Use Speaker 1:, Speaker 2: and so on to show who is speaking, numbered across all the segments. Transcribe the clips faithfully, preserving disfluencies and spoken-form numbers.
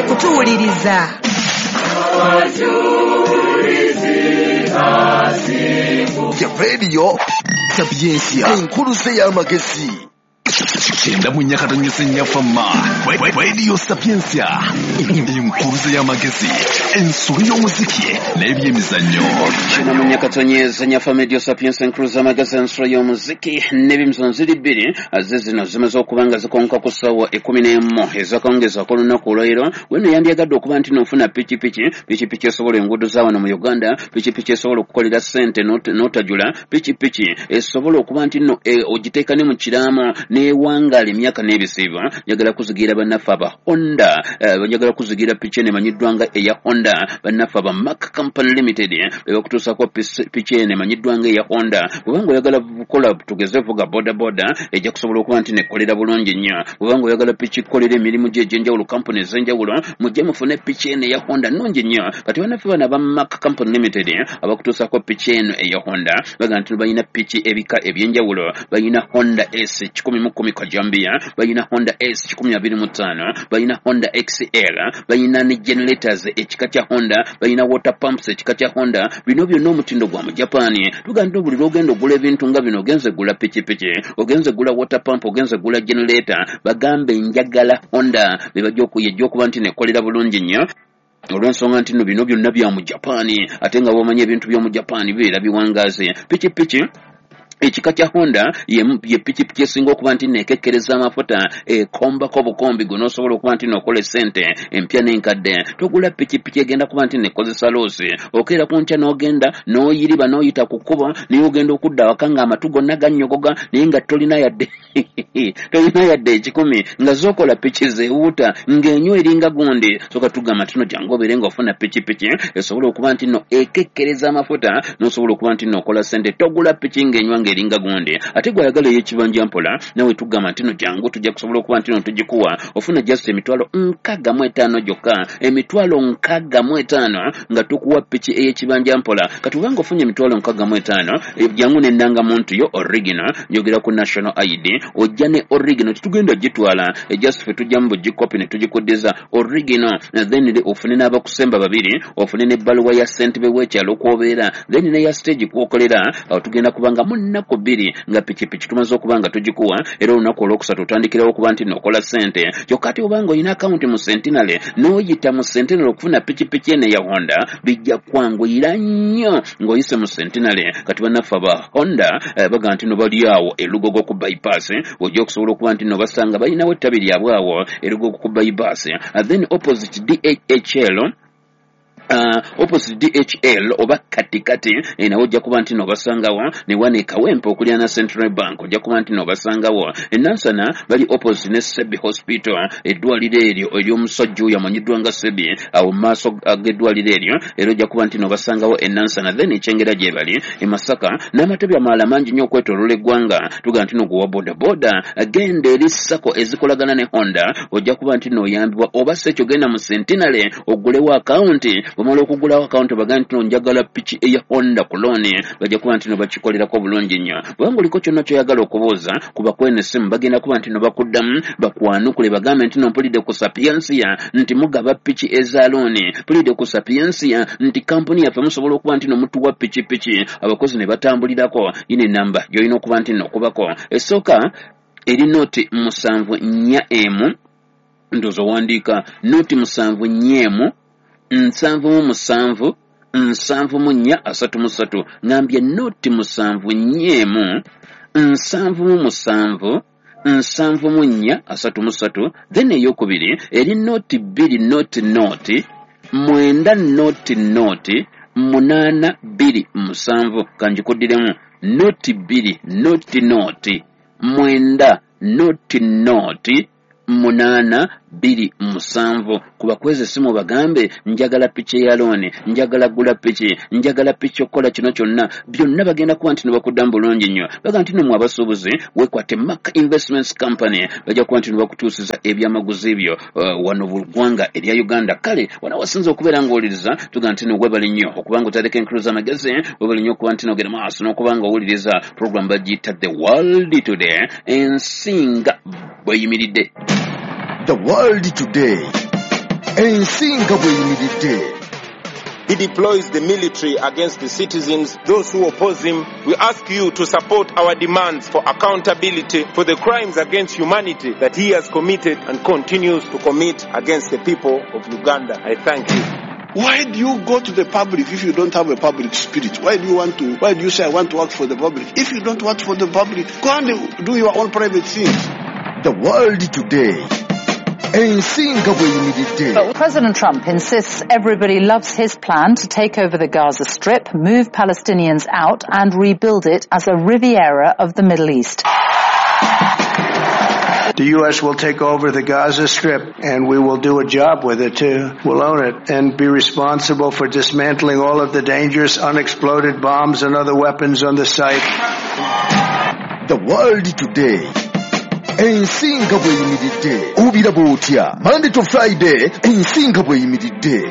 Speaker 1: Kutuwuliriza.
Speaker 2: Ya Radio Sapientia, enkuluze y'amagezi. Kyenda mu nnya katonyesa ennyafama. Radio Sapientia, enkuluze y'amagezi, ensolo y'omuziki n'ebyemizannyo.
Speaker 3: Kyenda mu nnya katonyesa ennyafama, Radio Sapientia, enkuluze y'amagezi, ensolo y'omuziki n'ebyemizannyo. Ziri bbiri ze zino zimaze okuba nga zikonka ku ssaawa ekkumi n'emu ezakawungeezi ak'olunaku olwaleero. Weno yandyagadde okuba nti nofuna pikipiki, pikipiki esobola enguudo za wano mu Uganda, pikipiki esobola okukolera ssente n'otajula, pikipiki esobola okuba nti nno ogiteeka ne mu kiraamo n'ewangaala emyaka n'ebisiibo. Njagala kuzigira bannaffe aba Honda, njagala kuzigira piki eno emanyiddwa nga eya Honda. Bannaffe aba Mark Company Limited be bakutuusaako piki eno emanyiddwa nga eya Honda. Bw'obanga oyagala kukola, tugeze vuga boda boda, ejja kusobola okuba nti nekolera bulungi nnyo. Bw'obanga oyagala piki kukolera emirimu gye egy'enjawulo, kampuni ez'enjawulo, mujje mufune piki eno eya Honda, nnungi nnyo. Kati bannaffe bano aba Mark Company Limited abakutuusaako piki eno eya Honda bagamba nti balina piki ebika eby'enjawulo. Balina Honda S kikumi mu kkumi kajambiya, balina Honda S kikumi abiri mu ttaano, balina Honda X L, balina ne generators ekika kya Honda, balina water pumps ekika kya Honda. Bino byonna omutindo gwa mu Japan. Tugamba nti buli lwogenda ogula ebintu nga bino, ogenze gula pikipiki, ogenze gula water pump, ogenze gula generator, bagambe njagala Honda, be bajja okuyejja okuba nti nekolera bulungi nnyo, olw'ensonga nti nno bino byonna bya mu Japan, ate nga bw'omanyi ebintu by'omu Japan bibeera biwangaaze. Pikipiki ekika kya Honda ye pikipiki esinga okuba nti neekekkereza amafuta, ekombako bukombi gwe n'osobola okuba nti nookola essente empya n'enkadde. Togula pikipiki egenda kuba nti nekozesa loss, okeera ku nkya n'ogenda n'oyiriba n'oyita ku kkubo, naye ogenda okudda awaka ng'amatu gonna gannyogoga, naye nga tolina yadde tolina yadde ekikumi, nga zookola piki zeewuuta ng'enywa eringa gundi. Soka tugamba nti no jangu obeere ng'ofuna pikipiki esobola okuba nti no ekekkereza amafuta n'osobola okuba nti nookola ssente. Togula piki ng'enywa ng'eringa gundi. Ate gwayagala ey'ekibanja mpola, nawe tugamba nti no jangu, tujja kusobola okuba nti no tugikuwa, ofuna just emitwalo nkaaga mu etaano gyokka, emitwalo nkaaga mu etaano nga tukuwa piki ey'ekibanja mpola. Kati obanga ofunye emitwalo nkaaga mu etaano, jangu n'endangamuntu yo original, njogera ku national I D, ojja ne original, tetugenda gitwala, just ffe tujjamu bugikopi ne tugikuddiza original. Then ofune n'abakusemba babiri, ofune n'ebbaluwa ya ssentebe w'ekyalo kw'obeera, then neya stage kwokolera. Awo tugenda kubanga mu nnaku bbiri nga pikipiki tumaze okuba nga tugikuwa, era olunaku olwokusatu otandikirawo okuba nti nookola ssente. Kyokka ate obanga olina akawunti mu Centenary, n'oyita mu Centenary okufuna pikipiki eno eya Honda, bijja kwanguyira nnyo ng'oyise mu Centenary. Kati bannaffe aba Honda eh, bagamba nti no bali awo elugogo ku bypass, ojja okusobola okuba nti no basanga balinawo ettabi lyabwe awo elugogo ku bypass, then opposite D H L, Uh, opposite D H L oba katikati eh, nawe ojja kuba nti nobasangawo. Ne wano e Kawempe okuliraana Central Bank ojja kuba nti nobasangawo. Enansana bali opposite ne Sebi Hospital, eddwaliro eryo ery'omusajja oyo amanyiddwa nga Sebi, awo mu maaso g'eddwaliro eryo era ojja kuba nti nobasangawo Enansana. Then ekyengera gye bali, e Masaka n'amatabi amalala mangi nnyo okwetooloola eggwanga. Tugamba nti noguwa boda boda, genda eri SACCO ezikolagana ne Honda, ojja kuba nti noyambibwa, oba si ekyo genda mu Centenary oggulewo akawunti. Bwomala okugulawo akawunti, bagambe nti no njagala piki eya Honda ku loan, bajja kuba nti no bakikolerako bulungi nnyo. Bwebanga oliko kyonna kyoyagala okubuuza, kuba kweno essimu, bagenda kuba nti no bakuddamu bakwanukule, bagambe nti no mpulidde ku Sapiensia nti mugaba piki eza loan, mpulidde ku Sapiensia nti kampuni yaffe musobola okuba nti no mutuwa pikipiki abakozi ne batambulirako. Yino enamba gy'olina okuba nti no okubako, esooka eri noti musanvu nnya emu, ndowooza owandiika, noti musanvu nnya emu nsanvu mu musanvu nsanvu mu nnya asatu mu ssatu. Ŋŋambye noti musanvu nnya emu nsanvu mu musanvu nsanvu mu nnya asatu mu ssatu. Then eyokubiri eri noti bbiri noti noti mwenda noti noti munaana bbiri musanvu. Kanjikuddiremu, noti bbiri noti noti mwenda noti noti munaana bbiri musanvu. Kuba kweza essimu bagambe njagala piki eya loan, njagala gula piki, njagala piki okukola kino kyonna byonna, bagenda kuba nti nibakuddamu bulungi nnyo. Bagamba nti nomwe abasuubuzi, weekwate Mark Investments Company, bajja kuba nti nibakutuusiza ebyamaguzi byo uh, wano mu ggwanga erya Uganda. Kale wano wasinza okubeera ng'owuliriza, tugamba nti no webale nnyo okuba nga otandika enkulu z'amagezi, webale nnyo okuba nti nogenda maaso n'okuba nga owuliriza program bagiyita The World Today, ensinga bweyimiridde.
Speaker 2: The World Today. Ensi nga bw'eyimiridde.
Speaker 1: He deploys the military against the citizens, those who oppose him. We ask you to support our demands for accountability for the crimes against humanity that he has committed and continues to commit against the people of Uganda. I thank you.
Speaker 4: Why do you go to the public if you don't have a public spirit? Why do you want to, why do you say I want to work for the public? If you don't work for the public, go and do your own private things.
Speaker 2: The World Today. Ensi nga bw'eyimiridde.
Speaker 5: But President Trump insists everybody loves his plan to take over the Gaza Strip, move Palestinians out and rebuild it as a Riviera of the Middle East.
Speaker 6: The U S will take over the Gaza Strip, and we will do a job with it too. We'll own it and be responsible for dismantling all of the dangerous unexploded bombs and other weapons on the site.
Speaker 2: The World Today. Ensi nga bw'eyimiridde. Obiraba otya? Monday to Friday, ensi nga bw'eyimiridde.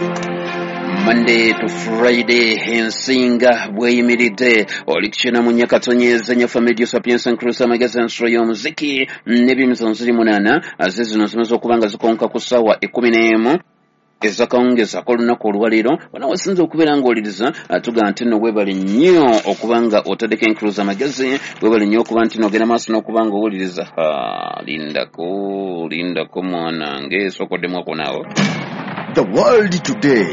Speaker 3: Monday to Friday, ensi nga bw'eyimiridde. Oli kukina mu Nyakatonyeza Nyafa Media Sapientia Nkurusa amagezi ensolo y'omuziki n'ebyemizannyo ziri munaana ze zino zimaze okuba nga zikonka ku ssaawa ekkumi n'emu ezakawungeezi ak'olunaku olwaleero. Wano wasinze okubeera ng'oliriza tugamba nti nno weebale nnyo okuba nga otaddeko enkuluza amagezi, weebale nnyo okuba nti n'ogenda maaso n'okuba ng'owuliriza. Ha, lindako lindako mwanange, sookoddemu ako naawe.
Speaker 2: The World Today.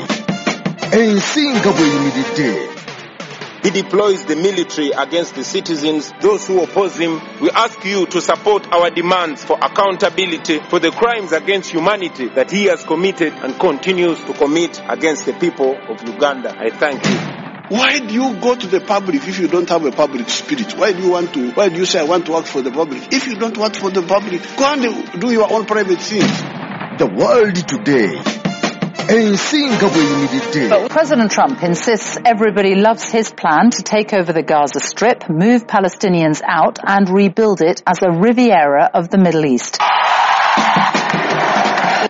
Speaker 2: Ensi nga bw'eyimiridde.
Speaker 1: He deploys the military against the citizens, those who oppose him. We ask you to support our demands for accountability for the crimes against humanity that he has committed and continues to commit against the people of Uganda. I thank you.
Speaker 4: Why do you go to the public if you don't have a public spirit? Why do you want to, why do you say I want to work for the public? If you don't work for the public, go and do your own private things.
Speaker 2: The World Today. Ensi nga bw'eyimiridde.
Speaker 5: But President Trump insists everybody loves his plan to take over the Gaza Strip, move Palestinians out and rebuild it as a Riviera of the Middle East.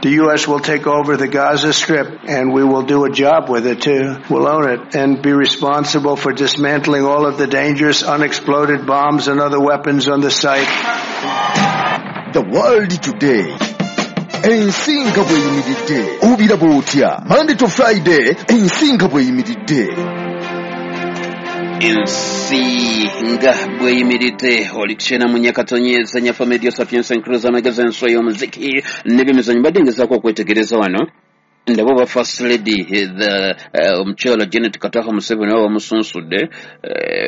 Speaker 6: The U S will take over the Gaza Strip, and we will do a job with it too. We'll own it and be responsible for dismantling all of the dangerous unexploded bombs and other weapons on the site.
Speaker 2: The World Today. Ensi nga bw'eyimiridde. Obiraba otya? Monday to Friday, ensi nga bw'eyimiridde.
Speaker 3: Ensi nga bw'eyimiridde. Oli kukyena mu Nyakatonyeza Nyafa Media Sapientia Nkuruza amagezi ensolo y'omuziki n'ebyemizannyo. Mbadde ngezaako okwetegereza wano ndaba oba First Lady the omukyala Janet Kataha Museveni oba bamusunsudde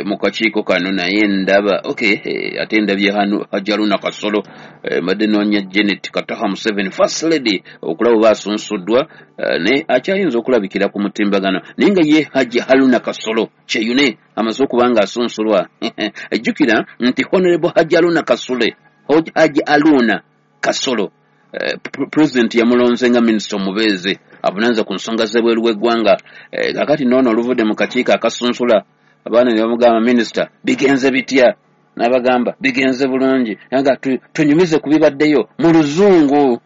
Speaker 3: mu kakiiko kano, naye ndaba okay, ate ndabye hano Hajaruna Kasolo. Mbadde noonya Janet Kataha Museveni First Lady okulaba oba asunsuddwa, naye akyayinza okulabikira ku mutimbagano, naye nga ye Haji Haruna Kasolo Kyeyune amaze okuba nga asunsulwa. Ejjukira nti Honorable Haji Haruna Kasule, Haji Haruna Kasolo, President yamulonze nga minisita omubeezi avunaanyizibwa ku nsonga z'ebweru w'eggwanga. Kaakati noono oluvudde mu kakiiko akasunsula abaana ne bamugamba, minisita bigenze bitya? N'abagamba bigenze bulungi, nga tunyumize ku bibaddeyo mu luzungu.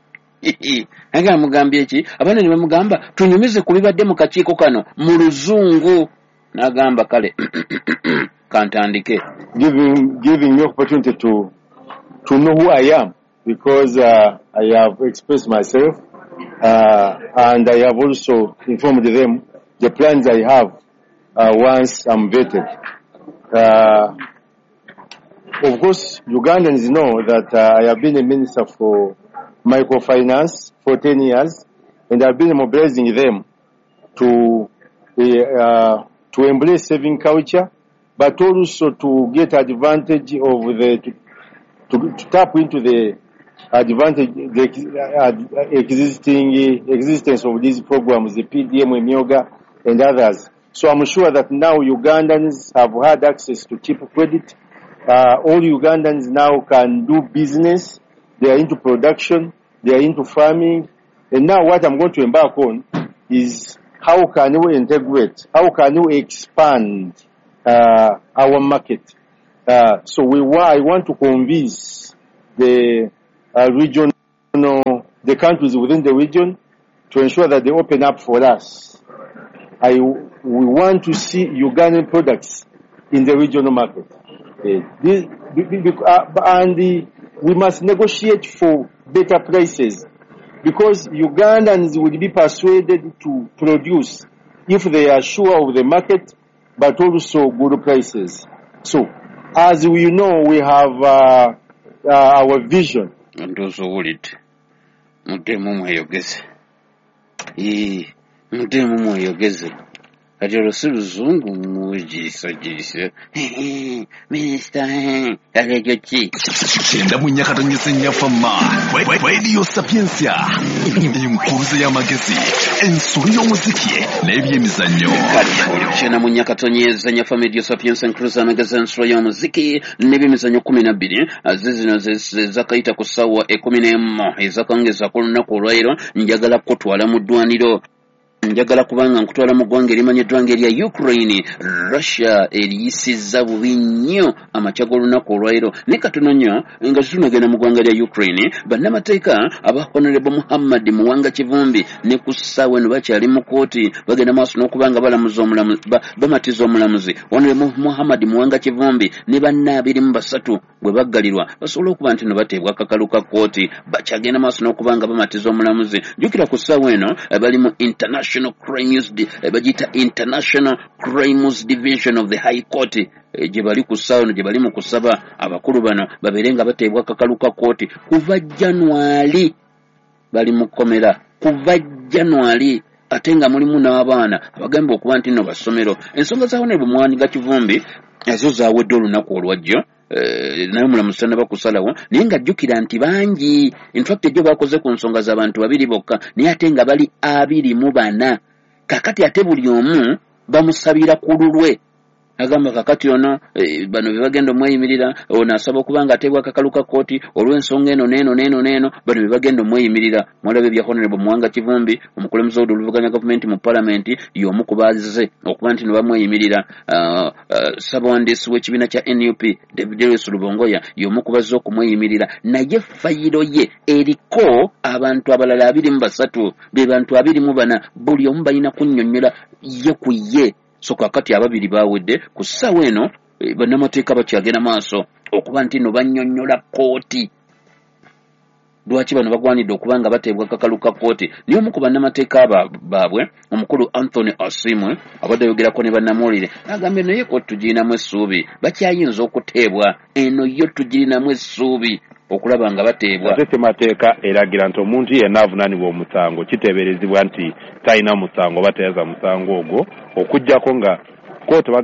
Speaker 3: Nga amugambye ki? Abaana ne bamugamba tunyumize ku bibadde mu kakiiko kano mu luzungu. N'agamba kale kantandike.
Speaker 7: Giving, giving me opportunity to, to know who I am, because uh, I have expressed myself uh, and I have also informed them the plans I have uh, once I'm vetted. Uh, of course, Ugandans know that uh, I have been a minister for microfinance for ten years, and I've been mobilizing them to, uh, to embrace saving culture, but also to get advantage of the, to, to, to tap into the advantage, the uh, existing existence of these programs, the P D M, Emyoga, and others. So I'm sure that now Ugandans have had access to cheap credit. Uh, all Ugandans now can do business. They are into production. They are into farming. And now what I'm going to embark on is how can we integrate? How can we expand uh, our market? Uh, so we wa- I want to convince the uh, regional, the countries within the region to ensure that they open up for us. I, we want to see Ugandan products in the regional market. Uh, this, uh, and the, we must negotiate for better prices. Because Ugandans will be persuaded to produce if they are sure of the market, but also good prices. So, as we know, we have uh, uh, our vision.
Speaker 3: Ndowooza owulidde. Muddeemu mweyogeze. Ee, muddeemu mweyogeze. Kati olwo si luzungu mwegiriisagiriisa minisita, kati ekyo ki?
Speaker 8: Kyenda mu nnya katonyeze nnya Fama Radio Sapientia, enkuruze y'amagezi, ensolo y'omuziki n'ebyemizannyo.
Speaker 3: Kale oli kyenda mu nnya katonyeze nnya Fama Radio Sapientia, enkuruze y'amagezi, ensolo y'omuziki n'ebyemizannyo. Kumi na bbiri ze zino zakayita ku ssaawa ekkumi n'emu ezakawungeezi ku lunaku olwaleero. Njagala kukutwala mu ddwaniro, njagala kubanga nkutwala mu ggwanga erimanyiddwa nga erya Ukraine. Russia eriyisizza bubi nnyo amakya g'olunaku olwaleero. Naye katono nnyo nga tetunagenda mu ggwanga lya Ukraine, bannamateeka aba Honorable Muhammad Muwanga Kivumbi ne ku ssaawa eno bakyali mu kooti, bagenda maaso n'okuba nga balamuza omulamuzi, bamatiza omulamuzi. Honorable Muhammad Muwanga Kivumbi ne banne abiri mu basatu bwe baggalirwa basobole okuba nti no bateebwa akakalu ka kooti, bakyagenda maaso n'okuba nga bamatiza omulamuzi. Jjukira ku ssaawa eno bali mu International Crimes, bagiyita International Crimes Division of the High Court, gye bali ku ssaawa eno, gye bali mu kusaba abakulu bano babeere nga bateebwa akakalu ka kooti. Kuva January bali mu kkomera, kuva January, ate nga mulimu n'abaana abagamba okuba nti nno basomero. Ensonga za Honorable Muwanga Kivumbi ezo zaawedde olunaku olwajjo, naye omulamuzi tannaba kusalawo. Naye ng'ajjukira nti bangi, in fact ejjo bakoze ku nsonga z'abantu babiri bokka, naye ate nga bali abiri mu bana. Kakati ate buli omu bamusabira ku lulwe, agamba kakati ono e, bano be bagenda omweyimirira, ono asaba okuba nga ateebwa akakalu ka kkooti olw'ensonga eno n'eno n'eno n'eno, bano be bagenda omweyimirira. Mwalaba ebya Honorable Muwanga Kivumbi, omukulembeze w'oludda oluvuganya gavumenti mu palamenti, y'omu ku bazze okuba nti ne bamweyimirira. uh, uh, ssabawandiisi w'ekibiina kya N U P David Lewis Lubongoya y'omu ku bazze okumweyimirira, naye fayiro ye eriko abantu abalala abiri mu basatu, be bantu abiri mu bana, buli omu balina kunnyonnyola ye ku ye. So kakati ababiri bawedde ku ssaawa eno, bannamateeka bakyagenda maaso okuba nti no bannyonnyola kkooti lwaki bano bagwanidde okuba nga bateebwa akakalu ka kkooti. Naye omu ku bannamateeka baabwe, omukulu Anthony Asimwe, abadde ayogerako ne bannamawulire, agambye naye ko tugirinamu essuubi, bakyayinza okuteebwa, eno yo tugirinamu essuubi okulaba nga bateebwa.
Speaker 9: Ate ssemateeka eragira nti omuntu yenna avunaanibwa omusango kiteeberezebwa nti talina musango oba teyaza musango ogwo, okuggyako nga kkooti oba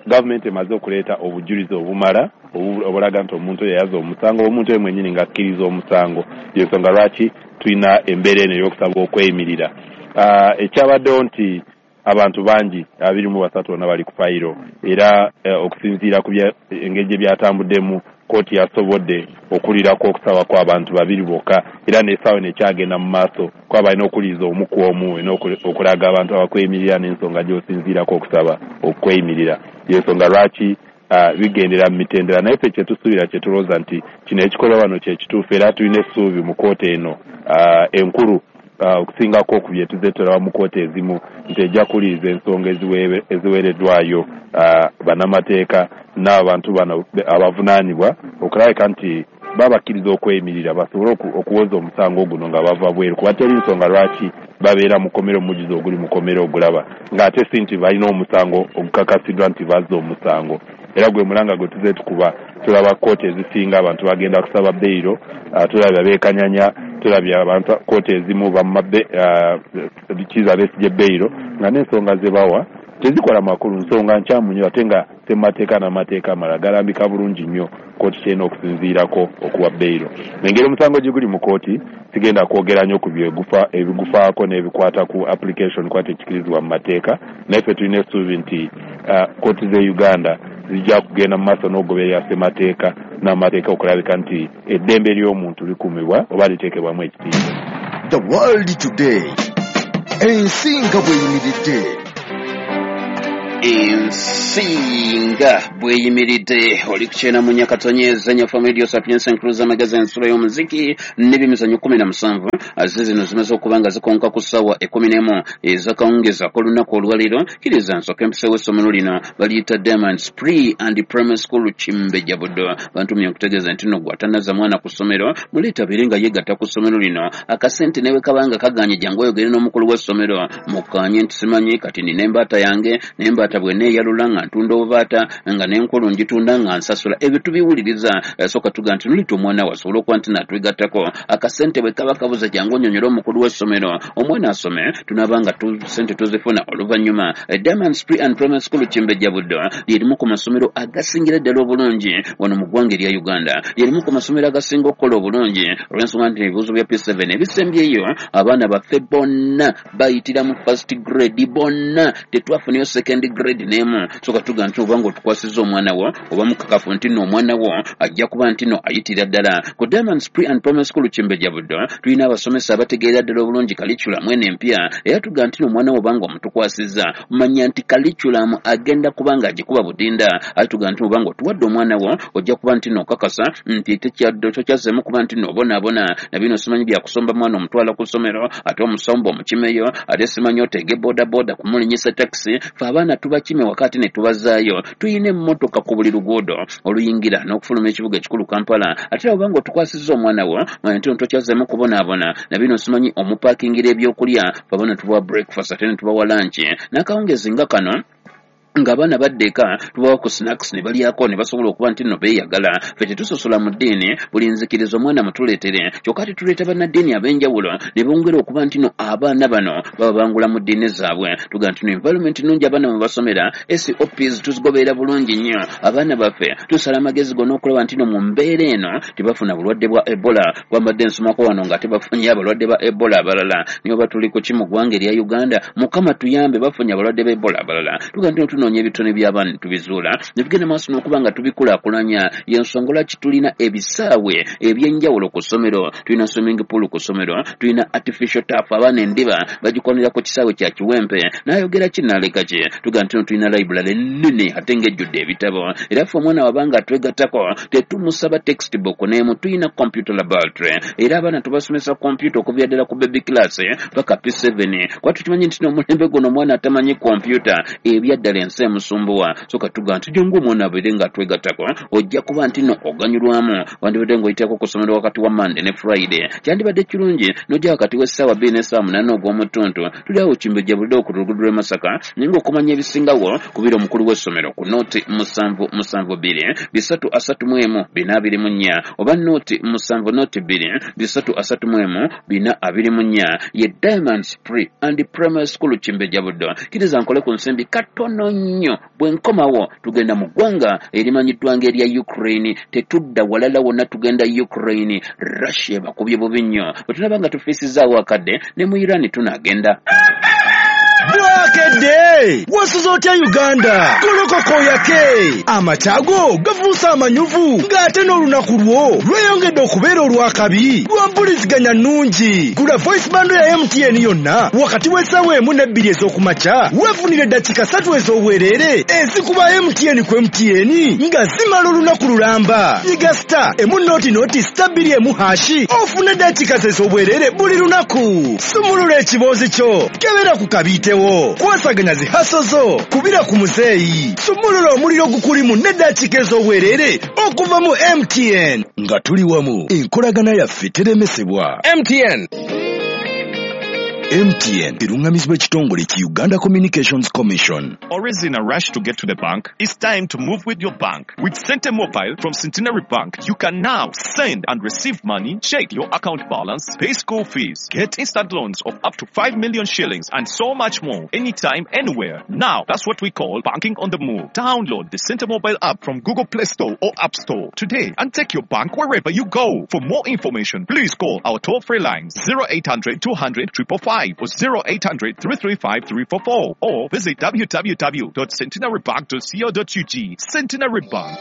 Speaker 9: gavumenti emaze okuleeta obujulizi obumala obulaga nti omuntu oyo yaza omusango, omuntu oyo mwennyini ng'akkiriza omusango. Y'ensonga lwaki tulina embeera eno ey'okusaba okweyimirira. Ekyabaddewo nti abantu bangi abiri mu basatu bonna bali ku fayiro, era okusinziira ku engeri gye byatambuddemu, kkooti yasobodde okulirako okusaba kw'abantu babiri bokka, era n'essaawa eno ekyagenda mu maaso kuba balina okuwuliriza omu ku omu okulaga abantu abakweyimirira n'ensonga gy'osinziirako okusaba okweyimirira. Y'ensonga lwaki bigendera mu mitendera, naye ffe kye tusuubira, kye tulowooza nti kino ekikolwa wano kye kituufu, era tulina essuubi mu kkooti eno enkulu okusingako ku bye tuzze tulaba mu kkooti ezimu, nti ejja kuwuliriza ensonga eziweereddwayo bannamateeka n'abantu bano abavunaanibwa okulabika nti babakkiriza okweyimirira basobole okuwoza omusango guno nga bava bweru, kuba teri nsonga lwaki babeera mu kkomera omujjuzo oguli mu kkomera ogulaba ng'ate si nti balina omusango ogukakasiddwa nti bazza omusango. Era gwe mulanga gwe tuzze tukuba, tulaba kkooti ezisinga abantu bagenda kusaba beyiro, tulabye abeekanyanya, tulabye abantu kkooti ezimu bamma Kizza Besigye beyiro nga n'ensonga ze bawa tezikola makulu, nsonga nkyamu nnyo, ate nga ssemateeka n'amateeka amalala galambika bulungi nnyo kkooti kyerina okusinziirako okuwa beyiro. Engeri omusango gye guli mu kkooti sigenda kwogera nnyo ku ebigufaako n'ebikwata ku application kuba tekikirizibwa mu mateeka, naye ffe tulina essuubi nti kkooti z'e Uganda zijja kugenda mu maaso n'okugoberera ssemateeka n'amateeka okulabika nti eddembe ly'omuntu likuumibwa oba liteekebwamu ekitiibwa.
Speaker 2: The World Today, ensi nga bw'eyimiridde.
Speaker 3: Ensinga bweyimiridde oli kukyena mu Nyakatonyeza Nyafa Radio Sapientia Encruiser Magazine ensula y'omuziki n'ebyemizannyo kumi na musanvu aze zino zimaze okuba nga zikonka ku ssaawa ekkumi n'emu ez'akawungeezi ak'olunaku olwaleero. Kkiriza nsooke empiseewo essomero lino baliyita Diamonds Pre and Primary School Kimbejja Buddo. Bantumye okutegeeza nti nno gw'atanazza mwana ku ssomero muleete abeere nga yeegatta ku ssomero lino. Akasente ne bwe kabanga kaganye jangu oyogere n'omukulu w'essomero mukkaanye nti simanyi kati nina embaata yange n'embaata bwe neeyalula nga ntunda obubaata nga n'enkulu ngitunda nga nsasula. Ebyo tubiwuliriza. Sooka tuga nti nolita omwana we asobole okuba nti natwegattako. Akasente bwe kaba kabuze jangu onyonyole omukulu w'essomero omwana asome tunaaba nga sente tuzifuna oluvannyuma. Diamonds Pre and Primary School Kimbejja Buddo lyerimu ku masomero agasingira ddala obulungi wano mu ggwanga erya Uganda, lyerimu ku masomero agasinga okukola obulungi olw'ensonga nti ebibuuzo bya P seven ebisembyeyo abaana baffe bonna bayitira mu first grade bonna, tetwafunayo second grade n'emu. Soka tuga nti oba ng'otukwasizza omwana wo oba mukakafu nti nno omwana wo ajja kuba nti nno ayitira ddala. Ku Diamonds Pre and Primary School Kimbejja Buddo tulina abasomesa abategeera ddala obulungi curriculum eno empya, era tuga nti nno omwana wo oba ng'omutukwasizza manya nti curriculum agenda kuba ng'agikuba budinda. Ate tuga nti oba ng'otuwadde omwana wo ojja kuba nti nno okakasa nti tekyazzeemu kuba nti nno obonaabona na bino simanyi byakusomba mwana omutwala ku ssomero ate omusomba omukimeyo ate simanyi oteege bodaboda kumulinyisa takisi. Fe abaana tubakime wakati ne tubazaayo. Tuyina emmotoka ku buli luguudo oluyingira n'okufuluma ekibuga ekikulu Kampala. Ate oba ng'otukwasizza omwana wo manya nti tokyazzemu kubonaabona na bino simanyi omupaakingira ebyokulya. Fe abaana tubawa breakfast ate ne tubawa lunch n'akawungezi nga kano ng'abaana badda eka tubawa ku snacks ne balyako ne basobola okuba nti nno beeyagala. Ffe tetusosola mu ddiini, buli nzikiriza omwana mutuleetere, kyokka tetuleeta bannaddiini ab'enjawulo ne bongera okuba nti nno abaana bano baba bangula mu ddiini zaabwe. Tuga nti nno environment nnungi abaana mwe basomera, S O Ps tuzigoberera bulungi nnyo. Abaana baffe tusala amagezi gonna okulaba nti nno mu mbeera eno tebafuna bulwadde bwa Ebola. Kwambadde nsomako wano nga tebafunye abalwadde ba Ebola abalala, niyo oba tuli ku ki mu ggwanga erya Uganda, Mukama tuyambe bafunye abalwadde ba Ebola abalala. Tuga nti nno tunoonya ebitone by'abaana ne tubizuula ne tugenda maaso n'okuba nga tubikulaakulanya. Y'ensonga lwaki tulina ebisaawe ebyenjawulo ku ssomero, tulina swimming pool ku ssomero, tulina artificial turf abaana endiba bagikwanira ku kisaawe kya Kiwempe. N'ayogera ki n'aleka ki? Tuga nti tulina library ennene ate ng'ejjudde ebitabo, era ffe omwana wabanga atwegattako tetumusaba textbook n'emu. Tulina computer laboratory era abaana tubasomesa computer okuviira ddala ku baby class paka P seven kuba tukimanyi nti n'omulembe guno omwana atamanyi computer ebyaddala ensi emusumbuwa. So katuga nti jangu omwana abeere ng'atwegattako ojja kuba nti nno oganyulwamu. Wandibadde ng'oyitako ku ssomero wakati wa Monday ne Friday, kyandibadde kirungi n'ojja wakati w'essaawa bbiri n'essaawa munaana ogw'omutuntu. Tuli awo Kimbejja Buddo ku luguudo lw'e Masaka, naye ng'okumanya ebisingawo kubira omukulu w'essomero ku nooti musanvu musanvu bbiri bisatu asatu mu emu bina abiri mu nnya oba nooti musanvu nooti bbiri bisatu asatu mu emu bina abiri mu nnya. Ye Diamonds Pre and Primary School Kimbejja Buddo. Kkiriza nkole ku nsimbi katono nnyo, bwe nkomawo tugenda mu ggwanga erimanyiddwa ng'erya Ukraine. Tetudda walala wonna, tugenda Ukraine. Russia bakubye bubi nnyo. Bwe tunaba nga tufiisizaawo akadde ne mu Iran tunaagenda.
Speaker 10: Bwakedde wasuza otya Uganda? Golokoko yake amakyago gafuuse amanyuvu ng'ate n'olunaku lwo lweyongedde okubeera olw'akabi lwa mpuliziganya nnungi. Gula voice bundle ya M T N yonna wakati w'essaawa emu n'ebbiri ez'okumakya weefunire eddakiika ssatu ez'obwereere ezikuba M T N ku M T N nga zimala olunaku lulamba. Yiga star emu nooti nooti star bbiri emu hashi ofune eddakiika ez'obwereere buli lunaku. Sumulula ekiboozi kyo, kebera ku kabiitewo, kwasaganya zihaso zo, kubira ku muzeeyi, sumulula omuliro gukulimu n'eddakiika ez'obwereere okuva mu M T N. Nga tuli wamu, enkolagana yaffe teremesebwa. M T N. M T N eruŋŋamizibwa ekitongole ki Uganda Communications Commission.
Speaker 11: Always in a rush to get to the bank? It's time to move with your bank. With Sente Mobile from Centenary Bank, you can now send and receive money, check your account balance, pay school fees, get instant loans of up to five million shillings and so much more, anytime, anywhere. Now, that's what we call banking on the move. Download the Sente Mobile app from Google Play Store or App Store today and take your bank wherever you go. For more information, please call our toll-free lines zero eight hundred two hundred triple five or zero eight hundred three three five three four four or visit w w w dot centenary bank dot co dot u g. Centenary Bank.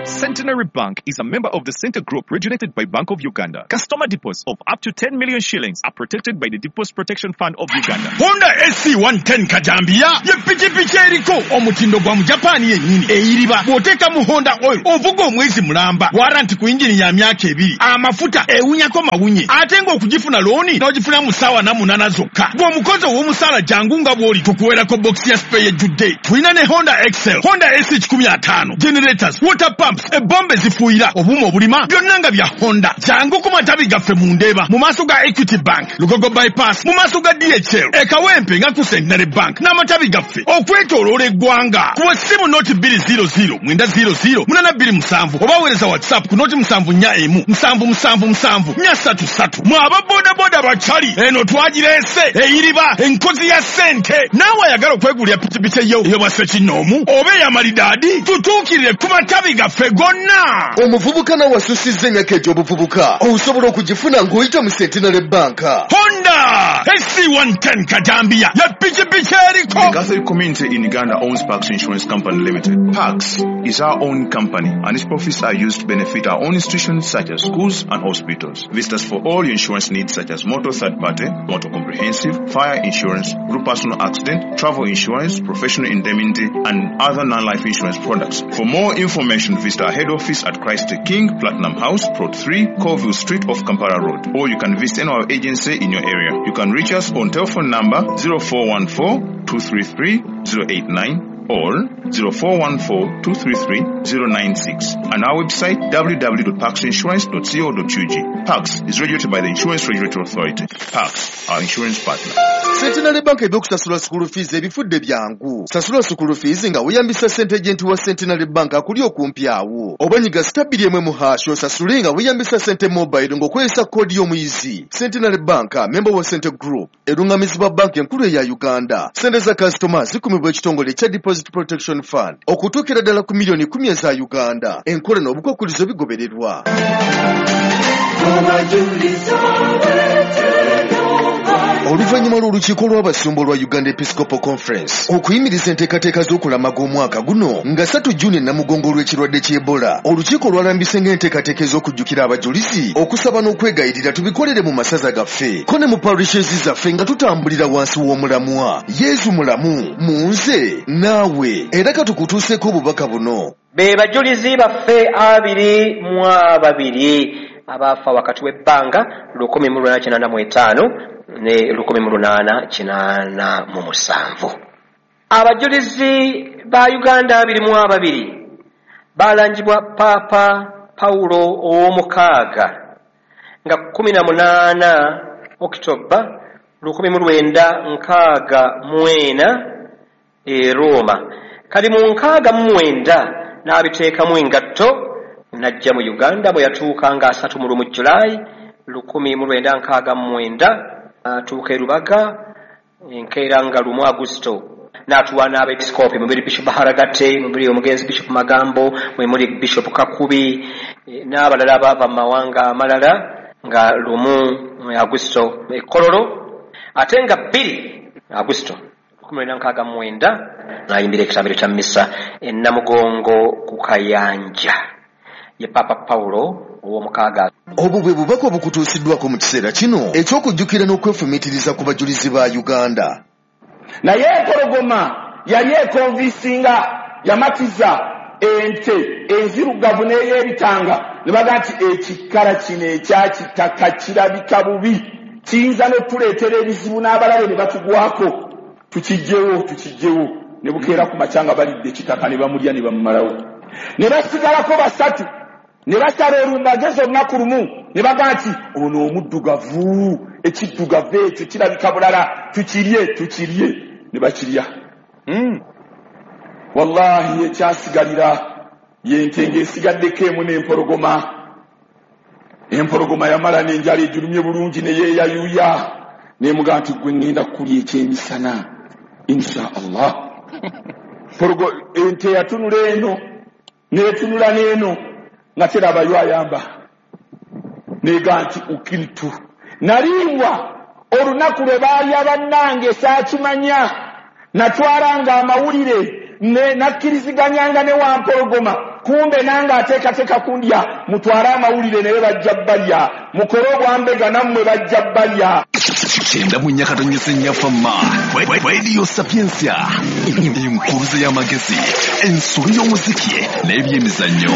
Speaker 11: Centenary Bank is a member of the Center Group regulated by Bank of Uganda. Customer deposits of up to ten million shillings are protected by the Deposit Protection Fund of Uganda.
Speaker 12: Honda S C one ten Kajambia ye pikipiki eriko omutindo gwa mu Japan yennyini eyiriba bw'oteeka mu Honda oil ovuga omwezi mulamba warranty ku engine ya myaka ebiri amafuta ewunyako mawunye ate ng'okugifuna looni n'ogifuna mu ssaawa na munaana zokka. Bw'omukozi ow'omusaala jangu nga bw'oli tukuweerako box ya spare ejjudde. Tulina ne Honda Excel, Honda S C kikumi ataano, generators, water pumps, ebombe zifuuyira obuuma obulima byonna nga bya Honda. Jangu ku matabi gaffe mu Ndeeba mu maaso ga Equity Bank, Lugogo Bypass mu maaso ga D H L, e Kawempe nga ku Centenary Bank n'amatabi gaffe okwetooloola eggwanga. Kuba ssimu noti bbiri zero zero mwenda zero zero munaana bbiri musanvu oba weereza WhatsApp ku noti musanvu nnya emu musanvu musanvu musanvu nnya ssatu ssatu. Mwe aba bodaboda bakyali eno twagireese eyiriba enkozi ya ssente. Naawe ayagala okwegulira pikipiki eyo ey'obwa ssekinnoomu oba ey'amalidaadi tutuukirire ku matabi gaffe gonna.
Speaker 2: Omuvubuka nawe asusizza emyaka egy'obuvubuka osobola okugifuna ng'oyita mu Centenary Bank.
Speaker 12: Honda S C one ten Kajambia ye pikipiki eriko.
Speaker 13: The Catholic community in Uganda owns Pax Insurance Company Limited. Pax is our own company and its profits are used to benefit our own institutions such as schools and hospitals. Visit us for all your insurance needs such as motor third party, motor comprehensive, fire insurance, group personal accident, travel insurance, professional indemnity and other non-life insurance products. For more information, visit our head office at Christ the King, Platinum House, Plot three, Colville Street off Kampala Road, or you can visit any of our agency in your area. You can reach us on telephone number zero four one four, two three three, zero eight nine or zero four one four, two three three, zero nine six and our website w w w dot pax insurance dot co dot u g. Pax is regulated by the Insurance Regulatory Authority. Pax, our insurance partner.
Speaker 2: Centenary Bank ebyokusasula school fees ebifudde byangu. Sasula school fees nga weeyambisa ssente agent wa Centenary Bank akuli okumpi awo. Oba nyiga star bbiri emu mu hash osasule nga weeyambisa ssente mobile ng'okozesa koodi y'omuyizi. Centenary Bank, member wa Center Group, erungamizibwa banki enkulu eya Uganda. Ssente za kasitoma zikumibwa ekitongole ekya Deposit Protection Fund okutuukira ddala ku miliyoni kumi eza Uganda. Enkola n'obukwakkulizo bigobererwa. Oluvannyuma lw'olukiiko lw'abasumba olwa Uganda Episcopal Conference okuyimiriza enteekateeka z'okulamaga omwaka guno nga ssatu Juni Namugongo olw'ekirwadde ky'Ebola, olukiiko lwalambise ng'enteekateeka ez'okujjukira abajulizi, okusaba n'okwegayirira tubikolere mu masaza gaffe ko ne mu parishes zaffe nga tutambulira wansi w'omulamwa Yesu mulamu mu nze naawe. Era katukutuuseeko obubaka buno.
Speaker 14: Be bajulizi baffe abiri mu ababiri abaafa wakati w'ebbanga lukumi mu lunaana kinaana mu etaano ne lukumi mu lunaana kinaana mu musanvu. Abajulizi ba Uganda abiri mu ababiri balangibwa Paapa Pawulo ow'omukaaga nga kkumi na munaana Okitoba lukumi mu lwenda nkaaga mu ena e Roma. Kali mu nkaaga mu mwenda n'abiteekamu engatto n'ajja mu Uganda bwe yatuuka nga asatu mu lumu Julayi lukumi mu lwenda nkaaga mu mwenda atuuka e Rubaga enkeera nga lumu Agusto n'atuwa n'abeepisikoopi mubiri Bishop Baharagate, mubiri omugenzi Bishop Magambo, mwe muli Bishop Kakubi n'abalala abaava mu mawanga amalala nga lumu Agusto e Kololo ate nga bbiri Agusto lukumi lwenda nkaaga mu mwenda n'ayimbira ekitambiro kya mmisa e Namugongo ku Kayanja. Ye Papa Pawulo ow'omukaaga.
Speaker 2: Obwo bwe bubaka obukutuusiddwako mu kiseera kino eky'okujjukira n'okwefumiitiriza ku bajulizi ba Uganda.
Speaker 15: Naye empologoma yali ekonvisinga yamatiza ente enzirugavu n'ey'ebitanga ne baga nti ekikala kino ekyakitaka kirabika bubi kiyinza n'otuleetera ebizibu n'abalabe ne batugwako, tukijjewo tukijjewo. Ne bukeera ku makya nga balidde ekitaka ne bamulya ne bamumalawo. Ne basigalako basatu ne basala olumagezi olunaku lumu ne baga nti ono omuddugavu ekiddugavu ekyo kirabika bulala tukirye tukirye ne bakirya. Mm. Wallahi ekyasigalira yente ng'esigaddeko emu n'empologoma. Empologoma yamala n'enjala egirumye bulungi ne yeeyayuya n'emugaa nti gwe ŋŋenda kukulya ekyemisana insha Allah. Pologo ente yatunula eno n'etunula n'eno nga terabayo ayamba nega nti ukiltu nalimbwa olunaku lwe baalya bannange saakimanya natwalanga amawulire Nakkiriziganyanga ne Wampologoma, kumbe nange ateekateeka kundya. Mutwale amawulire naye bajja balya, mukole obwambega nammwe bajja balya.
Speaker 8: Kyenda mu nnya katonnyeze nnya Fama Radio Sapientia, enkuruze y'amagezi, ensolo y'omuziki n'ebyemizannyo.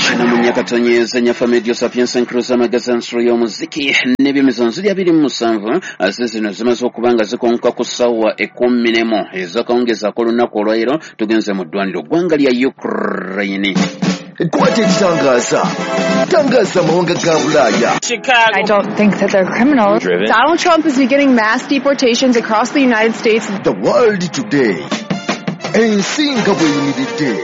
Speaker 3: Kyenda mu nnya katonnyeze nnya Fama Radio Sapientia, enkuruze y'amagezi, ensolo y'omuziki n'ebyemizannyo. Ziri abiri mu musanvu ate zino zimaze okuba nga zikonka ku ssaawa ekkumi n'emu ez'akawungeezi ak'olunaku olwaleero. Tugenze mu ddwaniro ggwanga lya Ukraine.
Speaker 2: Kwata ekitangaza, tangaza amawanga ga Bulaaya.
Speaker 16: I don't think that they're criminals. Donald Trump is beginning mass deportations across the United States.
Speaker 2: The World Today, ensi nga bweyimiridde.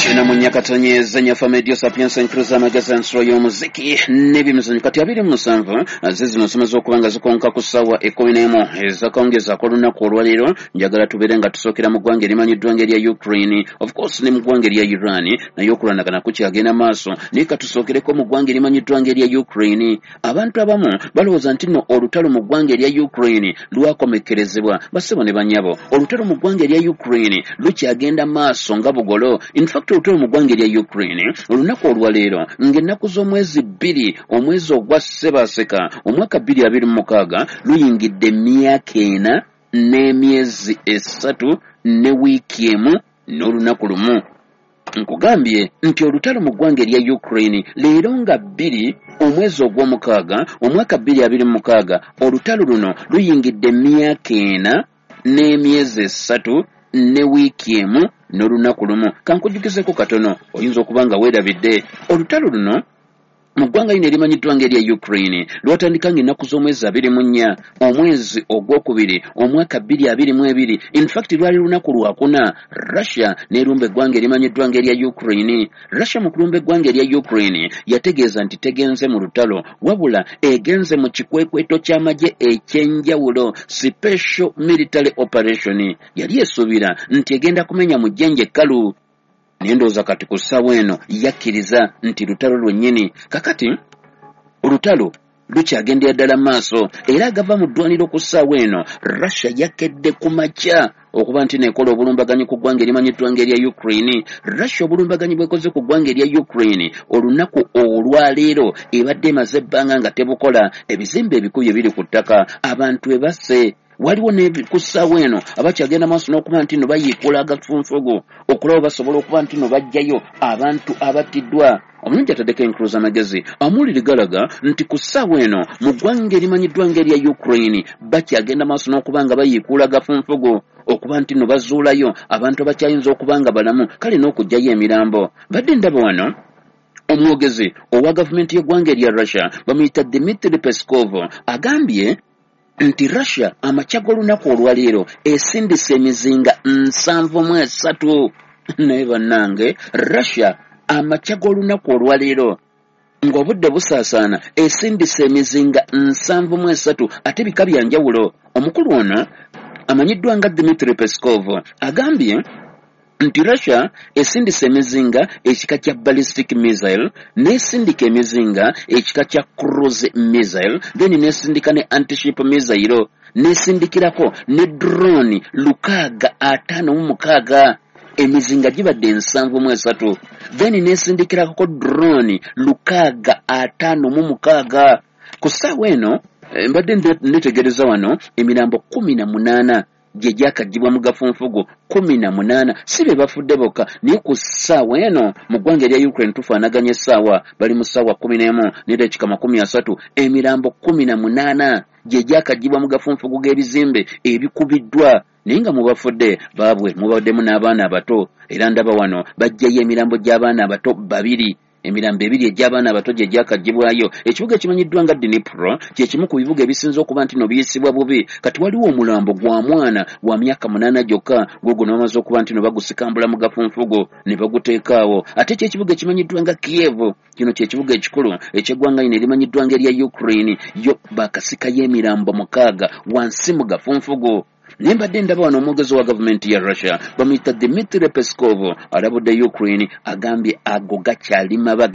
Speaker 3: Kyenda mu nnya katonnyeze nnya Fama Radio Sapientia, enkuruza amagezi, ensolo y'omuziki n'ebyemizannyo. Kati abiri mu musanvu ze zino zimaze okuba nga zikonka ku ssaawa ekkumi n'emu ez'akawungeezi ak'olunaku olwaleero. Njagala tubeere nga tusookera mu ggwanga erimanyiddwa ng'erya Ukraine, of course ne mu ggwanga erya Iran naye okulwanagana kukyagenda maaso, naye katusookereko mu ggwanga erimanyiddwa ng'erya Ukraine. Abantu abamu balowooza nti nno olutalo mu ggwanga erya Ukraine lwakomekkerezebwa. Bassebo ne bannyabo, olutalo mu ggwanga erya Ukraine lukyagenda maaso nga bugolo. In fact, olutalo mu ggwanga erya Ukraine olunaku olwaleero ng'ennaku z'omwezi bbiri omwezi ogwa Ssebaaseka omwaka bbiri abiri mu mukaaga luyingidde emyaka ena n'emyezi esatu ne wiiki emu n'olunaku lumu. Nkugambye nti olutalo mu ggwanga erya Ukraine leero nga bbiri omwezi ogw'omukaaga omwaka bbiri abiri mu mukaaga, olutalo luno luyingidde emyaka ena n'emyezi esatu ne wiiki emu n'olunaku lumu. Kankujjukizeko katono, oyinza okuba nga weerabidde. Olutalo luno mu ggwanga lino erimanyiddwa ng'erya Ukraine lwatandika ng'ennaku z'omwezi abiri mu nnya omwezi ogwokubiri omwaka bbiri abiri mu ebiri. In fact, lwali lunaku lwakuna Russia n'erumba eggwanga erimanyiddwa ng'erya Ukraine. Russia mu kulumba eggwanga erya Ukraine yategeeza nti tegenze mu lutalo, wabula egenze mu kikwekweto ky'amagye ekyenjawulo, special military operation. Yali esuubira nti egenda kumenya mu jjenje ekkalu, naye ndowooza kati ku ssaawa eno yakkiriza nti lutalo lwennyini. Kakati olutalo lukyagendera ddala maaso, era agava mu ddwaniro ku ssaawa eno, Russia yakedde ku makya okuba nti nekola obulumbaganyi ku ggwanga erimanyiddwa ng'erya Ukraine. Russia obulumbaganyi bwekoze ku ggwanga erya Ukraine olunaku olwaleero ebadde emaze ebbanga nga tebukola. Ebizimbe ebikubye biri ku ttaka, abantu ebasse, waliwo ne ku ssaawa eno abakyagenda maaso n'okuba nti no bayiikula agafunfugu okulaba basobola okuba nti no baggyayo abantu abattiddwa. Omulungi ataddeko enkuluza amagezi amawulire galaga nti ku ssaawa eno mu ggwanga erimanyiddwa ng'erya Ukraine bakyagenda maaso n'okuba nga bayiikuula agafunfugu okuba nti no bazuulayo abantu abakyayinza okuba nga balamu, kale n'okuggyayo emirambo. Badde ndaba wano omwogezi owa gavumenti y'eggwanga erya Russia bamuyita Dmitry Peskov agambye nti Russia amakya g'olunaku olwaleero esindise emizinga nsanvu mu esatu. Naye bannange, Russia amakya g'olunaku olwaleero ng'obudde busaasaana esindise emizinga nsanvu mu esatu, ate bika bya njawulo. Omukulu ono amanyiddwa nga Dmitry Peskov agambye nti Russia esindise emizinga ekika kya ballistic missile, n'esindika emizinga ekika kya cruise missile, then n'esindika ne antiship missile, n'esindikirako ne drone lukaaga ataano mu mukaaga. Emizinga gibadde nsanvu mu esatu, then n'esindikirako drone lukaaga ataano mu mukaaga. Ku ssaawa eno mbadde netegereza wano emirambo kumi na munaana gye gyakaggyibwa mu gafunfugu, kumi na munaana. Si be bafudde bokka, naye ku ssaawa eno mu ggwanga erya Ukraine tufaanaganya essaawa, bali mu ssaawa kkumi n'emu n'eddakiika makumi asatu, emirambo kumi na munaana gye gyakaggyibwa mu gafunfugu g'ebizimbe ebikubiddwa, naye nga mu bafudde baabwe mubaddemu n'abaana abato. Era ndaba wano baggyayo emirambo gy'abaana abato babiri, emirambo ebiri egy'abaana abato gye gyakaggyibwayo. Ekibuga ekimanyiddwa nga Dnipro kye kimu ku bibuga ebisinze okuba nti no biyisibwa bubi. Kati waliwo omulambo gwa mwana wa myaka munaana gyokka, gwogwo ne bamaze okuba nti no bagusikambula mu gafunfugu ne baguteekaawo. Ate kyekibuga ekimanyiddwa nga Kiev, kino kyekibuga ekikulu eky'eggwanga lino erimanyiddwa nga erya Ukraine, yo bakasikayo emirambo mukaaga wansi mu gafunfugu. Naye mbadde ndaba wano omwogezi wa gavumenti ya Russia bamuyita Dmitry Peskov alabudde Ukraine, agambye ago gakyali mabaga.